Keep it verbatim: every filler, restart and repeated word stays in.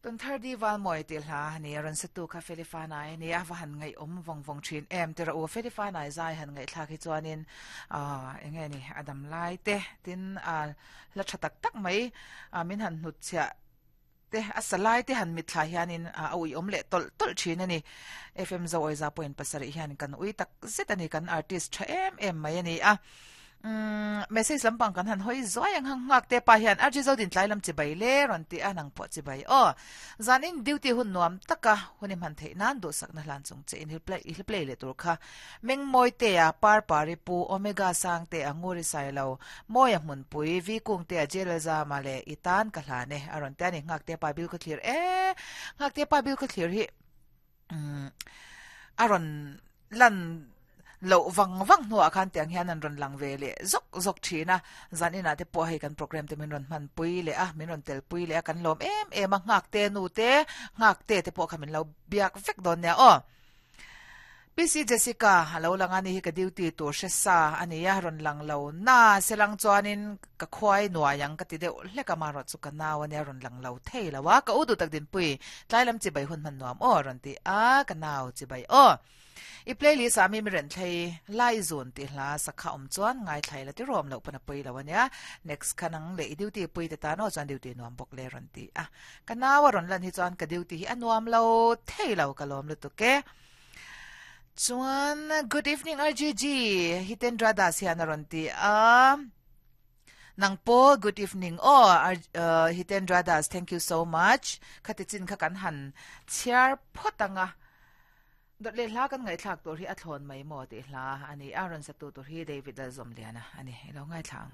Tun thar di val mawi tih hla a ni a rawn sa tu kha Felifanai a ni a, va han ngaihawm vawng vawng thin em tira u Felifanai zai han ngaihthlak hi chuanin ah eng nge ni a dam lai te tin ah hla tha tak tak mai ah min han hnut chhiah te a sa lai te han mitthla hianin ah a uiawm leh tawlh tawlh thin a ni. F M Zoawiza point pasarih hian kan ui tak zet a ni kan artist tha em em mai a ni a. Umm message lampang kan han hawi zuai ang hang nghak te pa hian R G Zodin tlai lam chibai le rawn ti a nang pawh chibai aw. Zanin duty hun nuam taka hun i hman theih nan duhsakna hlan chung che in hi play i play leh tur kha Mengmawi te a Parpari pu Omega Sang te a Nguri Sailo Mawia Hmunpui V Kung te a J L Zama leh i tan ka hlan e a rawn ti a ni nghak te pa bil khaw thlir e nghak te pa bil khaw thlir hi umm a rawn lan loh vang vang hnuah khan tiang hian an rawn lang ve leh zawk zawk thin a, zan inah te pawh hei kan program te min rawn hman pui leh a, min rawn tel pui leh a, kan lawm em em a, nghak te nu te, nghak te te pawh kha min lo biak vek dawn nia aw. P C Jessica a lo lang a ni hi ka duty tur hre sa a ni a, rawn lang lo na selang chuanin ka khuai nuai ang ka ti deuh hlek a, amaherawh chu ka nau a nia rawn lang lo thei lo a, ka u duh tak dinpui tlai lam chibai hun hman nuam aw rawn ti a, ka nau chibai aw. I playlist ah mi mi reng thlei lai zun tih hla sakha awm chuan ngaithlai la tirawm loh pawn a pawi lo ania. Next kha nang leh i duty pui te tan aw chuan duty nuam bawk le rawn ti a. Ka nau a rawn lan hi chuan ka duty hi a nuam lo thei lo ka lawm lutuk e. Chuan good evening R G G Hitendra Das hian a rawn ti a. Nang pawh good evening aw Hitendra Das thank you so much. Khati chin kha kan han chhiar phawt ang a. Dawt leh hla kan ngaihthlak tur hi a thlawn mai maw tih hla a ni a, rawn satu tur hi David Lalzawmliana a ni. I lo ngaithla ang.